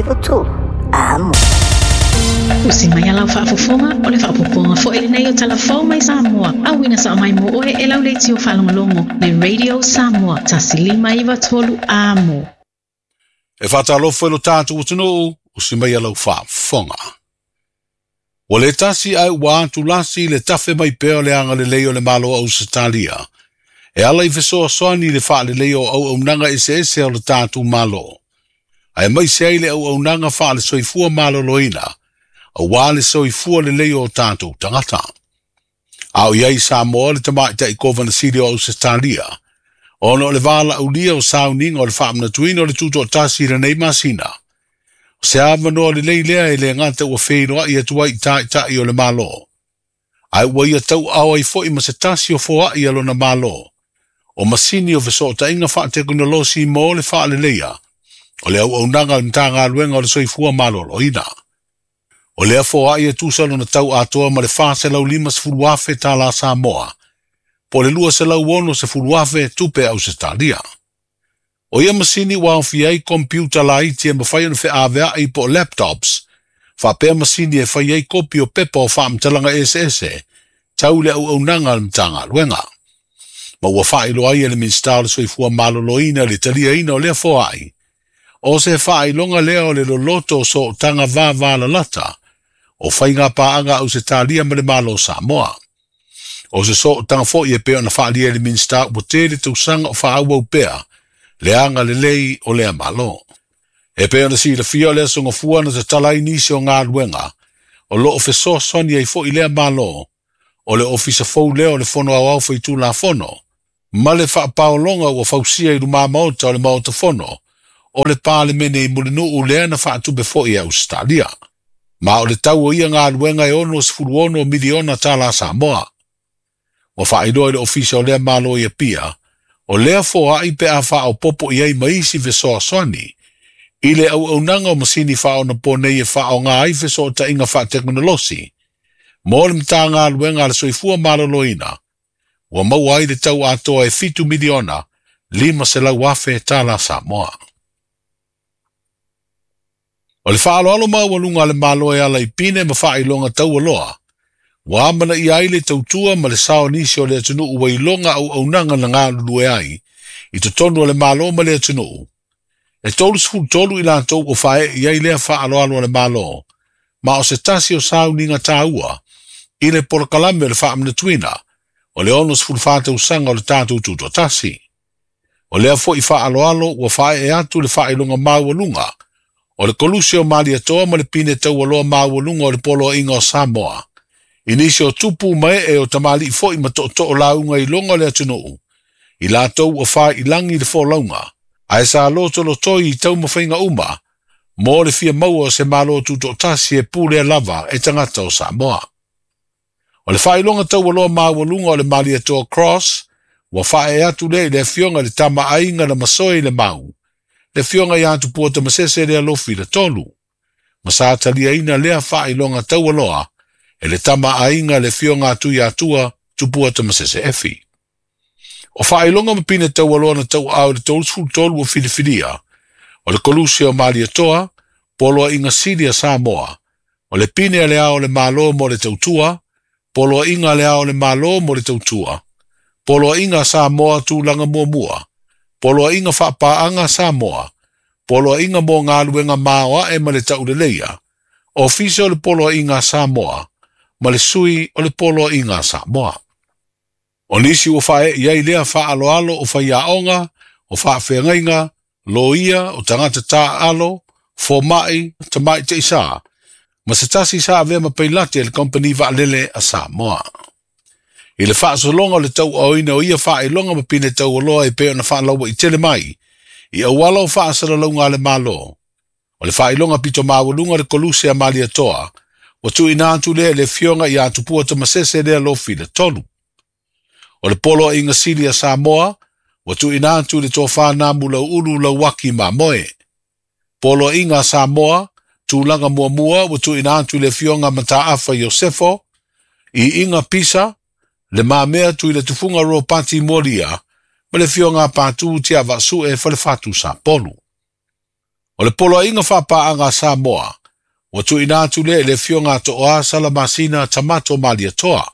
593 Amo. Usi mai a lau faafofoga, o le faaopoopoga foi lenei o Tala Fou mai Samoa, auina sao mai mo oe e lau leitio faalogologo le Radio Samoa 1593 Amo. E faatalofa i lo tatou atunuu, usi mai a lau faafofoga. Ua le tasi ae ua atulasi le tafe mai pea o le agalelei o le Malo o Ausetalia, e ala i fesoasoani i le faaleleia o auaunaga eseese o le tatou Malo, aemaise ai le auaunaga faale-soifua maloloina, aua le soifua lelei o tatou tagata. A o i ai i Samoa le tamaitai Kovana Sili o Ausetalia, ona o le valaaulia o sauniga o le faamanatuina o le tutoatasi i lenei masina, o se avanoa lelei lea e le gata ua feiloai atu ai i taitai o le Malo, ae ua ia tauaao ai foi ma se tasi o foai a lona Malo, o masini o fesootaiga faatekonolosi mo le faaleleia o le auaunaga a le Matagaluega o le Soifua Maloloina. O lea foai e tusa lona tau atoa ma le $450,000 tala Samoa, po o le $260,000 tupe Ausetalia. O ia masini ua aofia ai kompiuta laiti e mafai ona feaveai po o laptops, faapea masini e fai ai kopi o pepa o faamatalaga eseese tau i le auaunaga a le Matagaluega. Ma ua faailoa ai e le Minisita o le Soifua Maloloina le taliaina o lea foai, o se faailoga lea o le loloto o sootaga vavalalata o faiga paaga Ausetalia ma le Malo o Samoa. O se sootaga foi e pei ona faaalia e le Minisita ua tele tausaga o faaauau pea le agalelei o lea Malo. E pei ona silafia o le aso Gafua na tatala ai nisi o galuega o loo fesoasoani ai foi lea Malo, o le Ofisa Fou lea o le Fono Aoao Faitulafono, ma le faapaologa ua fausia i lumamaota o le Maota Fono o le Palemene i Mulinuu lea na faatupe foi e Ausetalia. Ma o le tau o ia galuega e $66 miliona tala Samoa. Ua faailoa i le Ofisa o lea Malo i Apia, o lea foai pe a faaopoopo i ai ma isi fesoasoani i le auaunaga o masini faaonaponei e faaaoga ai fesootaiga faatekonolosi mo le Matagaluega a le Soifua Maloloina, ua maua ai le tau atoa e $7 miliona 500,000 tala Samoa. O le faaaloalo maualuga a le Malo e ala i pine ma faailoga taualoa, ua amanaia ai le tautua ma le sao o nisi o le atunuu ua iloga auaunaga na galulue ai i totonu o le Malo ma le atunuu. E 33 i latou ua faaee i ai lea faaaloalo a le Malo, ma o se tasi o sauniga taua i le polokalame o le faamanatuina o le 64 tausaga o le tatou tutoatasi. O lea foi faaaloalo ua faaee atu le faailoga maualuga o le Koluse o Malietoa ma le pine taualoa maualuga o le Poloaiga o Samoa, i nisi o tupu ma ee o tamalii foi ma tootoo lauga i loga o le atunuu, i latou ua faailangi le folauga, ae sa lotolotoi i taumafaiga uma mo le fia maua o se Malo tutoatasi e pulea lava e tagata o Samoa. O le faailoga taualoa maualuga o le Malietoa Cross ua faaee atu lea i le afioga i le tama aiga na masoe i le mau, le afioga ia Tupua Tamasese le Alofi le tolu, ma sa taliaina lea faailoga taualoa e le tama aiga le afioga a Tuiatua Tupua Tamasese Efi. O faailoga ma pine taualoa na tauaao i le 33 ua filifilia, o le Koluse o Malietoa, Poloaiga Sili a Samoa, o le pine a le ao o le Malo mo le tautua, Poloaiga a le ao o le Malo mo le tautua, Poloaiga a Samoa tulaga muamua, Poloaiga faapaaga Samoa, Poloaiga mo galuega maoae ma le tauleleia, Ofisa o le Poloaiga a Samoa, ma le Sui o le Poloaiga a Samoa. O nisi ua faaee i ai lea faaaloalo o faiaoga, o faafeagaiga, loia, o tagata taaalo, fomai, tamaitai ma se tasi sa avea ma pailate e le Kompani Vaalele a Samoa. I le faasologa o le tauaoina o ia faailoga ma pine taualoa e pei ona faalauaitele mai i auala o faasalalauga a le Malo, o le faailoga pito maualuga o le Koluse a Malietoa, ua tuuina atu lea i le afioga ia Tupua Tamasese le Alofi le tolu. O le Poloaiga Sili a Samoa, ua tuuina atu i le tofa Namu Lauulu Lauaki Mamoe. Poloaiga a Samoa, tulaga muamua ua tuuina atu i le afioga Mataafa Iosefo, Iiga Pisa, le mamea tui le tufuga Ropati Molia, ma le afioga Patu Tiavaasue Falefatu Sapolu. O le poloaiga faapaaga a Samoa, ua tuuina atu lea i le Afioga a Tooa Salamasina Tamato Malietoa.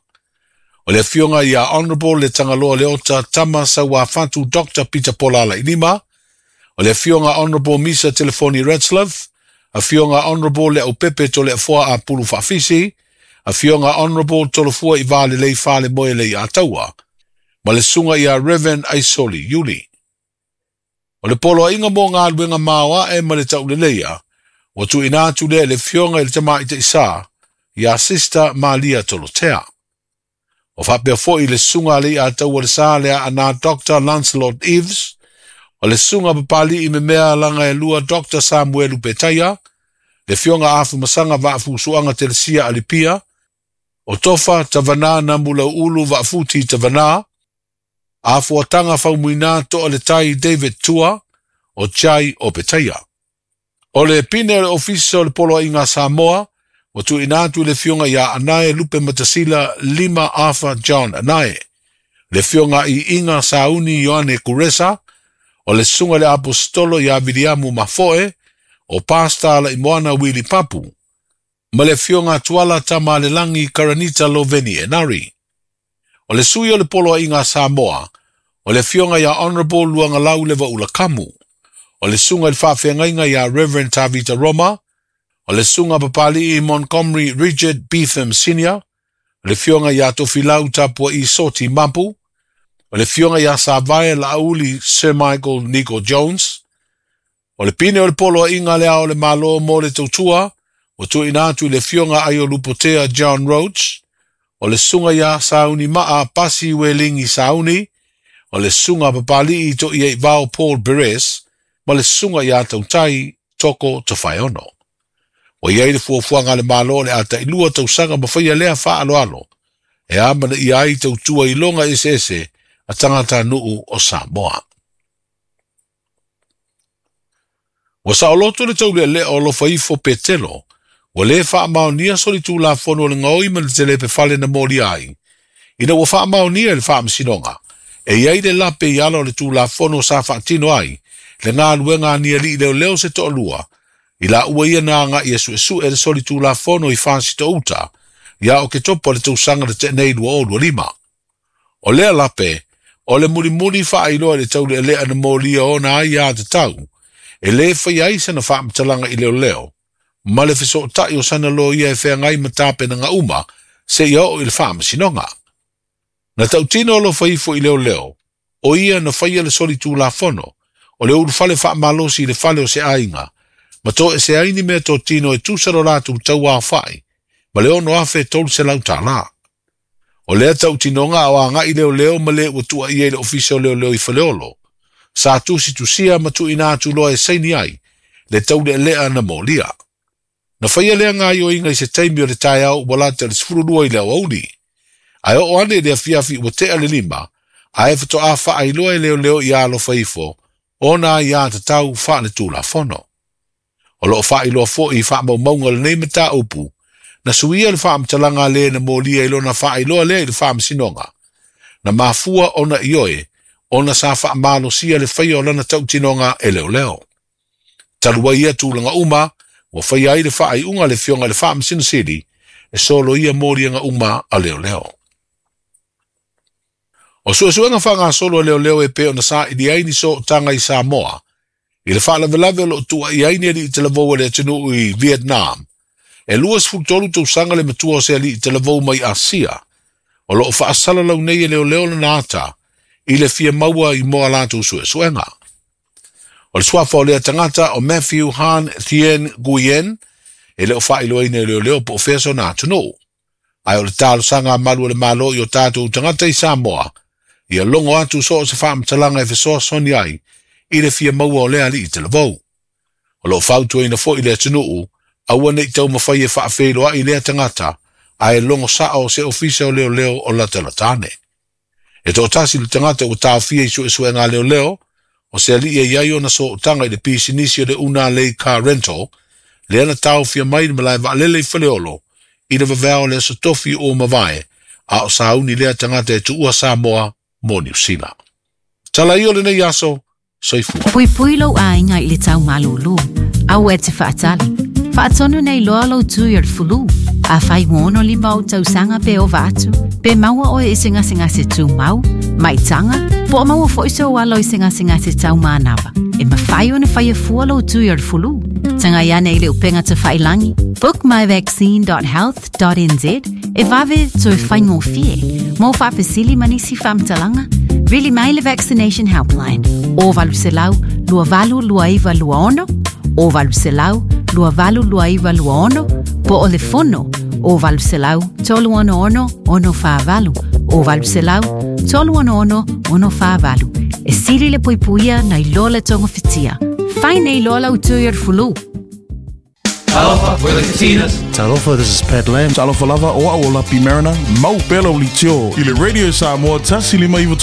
O le Afioga ia Honourable Letagaloa Leota Tama Sauafatu Dr. Peter Pola Lailima, o le Afioga Honourable Misa Telefoni Retzlaff, Afioga Honourable Leaupepe Toleafoa Apulu Faafisi, Afioga Honourable Tolofua i Valelei Falemoe Leiataua, ma le Susuga ia Reverend Aisoli Iuli. O le poloaiga mo galuega maoae ma le tauleleia, ua tuuina atu lea i le Afioga i le Tamaitaisa ia Sister Malia Tolotea. O faapea foi le Susuga a Leiataua le Sa le Aana Dr. Lancelot Eves, o le Susuga Papali'i Memea Lagaelua Dr. Samuelu Petaia, le Afioga Afumasaga Vaafusuaga Telesia Alipia, o Tofa Tavanā Namulau'ulu Vaafuti Tavanā, Afuataga Faumuina To'a le Tai David Tua, o Jai o Petaia. O le pine o le Ofisa o le Poloaiga a Samoa, ua tuuina atu i le Afioga ia Anae Lupe Matasila Lima Arthur John Anae, le Afioga i Iga Sauni Ioane Kuresa, o le Susuga i le Aposetolo ia Viliamu Mafoe, o Pastor Alaimoana Wili Papu, ma le Afioga Tuala Tamalelagi Karanita Loveni Enari. O le sui o le Poloaiga a Samoa, o le Afioga ia Honourable Luagalau Levaula Kamu, o le Susuga i le Faafeagaiga ia Reverend Tavita Roma, o le Susuga Papali'i Montgomery Richard Beetham Senior, o le Afioga ia Tofilau Tapua'i Soti Mapu, o le Afioga ia Savae Laauli Sir Michael Nico Jones, o le pine o le Poloaiga le Ao o le Malo mo le Tautua, ua tuuina atu i le Afioga Aiolupotea John Roach, o le Susuga ia Sauni Maa Pasi Welingi Sauni, o le Susuga Papali'i To'iaivao Paul Beres, ma le Susuga ia Tautai Toko Tofaeono. Ua i ai le fuafuaga a le Malo o le a tailua tausaga ma faia lea faaaloalo, e amanaia ai tautua iloga eseese a tagatanuu o Samoa. Ua saoloto le taulealea o Alofaifo Petelo, ua lē faamaonia solitulafono o le gaoi ma le telepefale na molia ai, ina ua faamaonia e le Faamasinoga, e i ai le lape i ala o le Tulafono sa faatino ai le galuega a ni alii leoleo se toalua, i laua ia na agai e suesue le solitulafono i Fasitouta ia Oketopa o le tausaga na tea nei 2025. O lea lape, o le mulimuli faailoa i le taulealea na molia ona ai ia tatau, e lē faia ai sana faamatalaga i leoleo, ma le fesootai o sana loia e feagai ma tapenaga uma seia oo i le Faamasinoga. Na tautino alofa ifo i leoleo, o ia na faia le solitulafono, o le ulufale faamalosi i le fale o se aiga, ma toese ai ni meatotino e tusa lo latou tauaofai, ma le 6,300 tala. O lea tautinoga a o agai leoleo ma le ua tuuaia i le Ofisa o Leoleo i Faleolo, sa tusitusia ma tuuina atu loa e saini ai le taulealea na molia. Na faia lea gaoioiga i se taimi o le taeao ua lata i le 12 i le aoauli. Ae oo ane i le afiafi ua tea le 5, ae faatoa faailoa e leoleo ia alofa ifo ona aiatatau faaletulafono. O lo o faailoa foi i faamaumauga o lenei mataupu, na suia le faamatalaga a le na molia i lona faailoa lea i le Faamasinoga, na mafua ona ioe ona sa faamalosia le faia o lana tautinoga e leoleo. Talu ai ia tulaga uma, ua faia ai le faaiuga a le Afioga i le Faamasino Sili e soloia moliaga uma a leoleo. O suesuega faagasolo a leoleo e pei ona saili ai ni sootaga i Samoa i le faalavelave o lo o tuuaia ai ni alii talavou a le atunuu i Vietnam. E 23 tausaga le matua o se alii talavou mai Asia o lo o faasalalau nei e leoleo lana ata i le fia maua i mo a latou suesuega. O le suafa o lea tagata o Matthew Han Thien Nguyen e le o faailoaina e leoleo po o fea sona atunuu. Ae o le talosaga a malu o le Malo i o tatou tagata i Samoa, ia logo atu so o se faamatalaga e fesoasoani ai i le fia maua o lea alii talavou. O lo o fautuaina foi le atunuu, aua ne i taumafai e faafeiloai lea tagata, ae logo sao se ofisa o leoleo o latalata ane. E toatasi le tagata ua taofia i suesuega a leoleo, o se alii e i ai ona sootaga i le pisinisi o le Una Lei Car Rental, lea na taofia mai le malae vaalele i Faleolo i le vaveao o le aso tofi ua mavae, a o sauni lea tagata e tuua Samoa mo Niu Sila. Tala ia o lenei aso, soifua. Puipui lou aiga i le tau malūlū. Aua e te faatali. Faatonu nei loa lou tui o le fulu. Afai ua 65 ou tausaga pe ova atu, pe maua oe i se gasegase tumau, maitaga, po o maua foi sou alo i se gasegase taumanava, e mafai ona faia fua lou tui o le fulu. Tagai ane i le upega tafailagi, bookmyvaccine.health.nz, e vave toe faigofie. Mo faafesili ma nisi faamatalaga, vili mai le Vaccination Helpline, o 800 2829 26, o 800 2829 26, po o le fono, o 800 366 648, o 800 366 648. E sili le puipuia nai lo le togafitia. Fai nei loa lau tui o le fulu. Talofa, we're the Katinas. Talofa, this is Pat Lam. Talofa lava o au o Lapi Mariner, mau pea lau leitio i le Radio Samoa 1593.